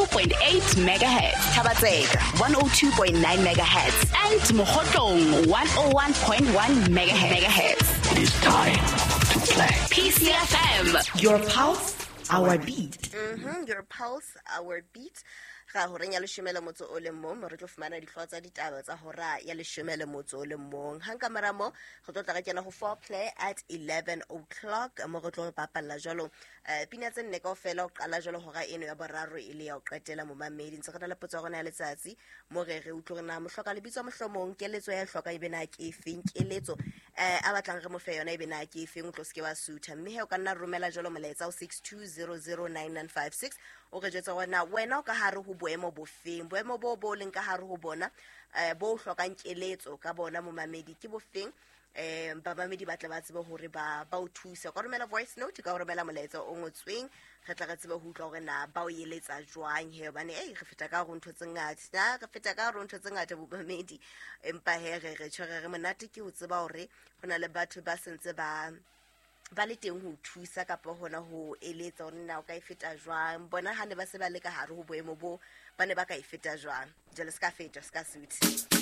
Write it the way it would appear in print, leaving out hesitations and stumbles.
102.8 megahertz, Thaba-Tseka 102.9 megahertz, and Mokhotlong 101.1 megahertz. It is time to play. PCFM, Your pulse, our beat. Your pulse, our beat. Ga horeng ya leshome le motso o le mong, mo re tlo fumana dihlooho tsa ditaba tsa hora ya leshome le motso o le mong. Hang ka mora mo, re tlo tla re kena ho foreplay at 11 o'clock, mo re tlo bapalla jwalo pina tse nne kaofela ho qala jwalo hora eno ya boraro e le ya ho qetela momamedi. Ntse re na le potso ya rona ya letsatsi, mo re re utlwe hore na mohloka lebitso mohlomong keletso ya e hloka ebe na ke efeng, keletso a batlang re mo fe yona ebe na ke efeng, o tlo seke wa sutha. Mme he o ka nna romela jwalo molaetsa ho 62009956, o re jwetsa hore na wena o ka hare ho boemo bofeng, boemo bo bo leng ka hare ho bona, bo o hlokang keletso ka bona momamedi ke bofeng. Bamamedi ba tle ba tsebe hore ba o thuse. O ka romela voice note, o ka romela molaetsa o ngotsweng, re tla re tsebe ho utlwa hore na ba o eletsa jwang he, hobane ei re feta ka hare ho ntho tse ngata, na re feta ka hare ho ntho tse ngata bomamedi. Empa he re tjho re re monate ke ho tseba hore ho na le batho ba sentse ba le teng ho thusa kapa hona ho eletsa hore na o ka e feta jwang. Bona ha ne ba se ba le ka hare ho boemo bo, ba ne ba ka e feta jwang. Jwale se ka fetwa, se ka suthe.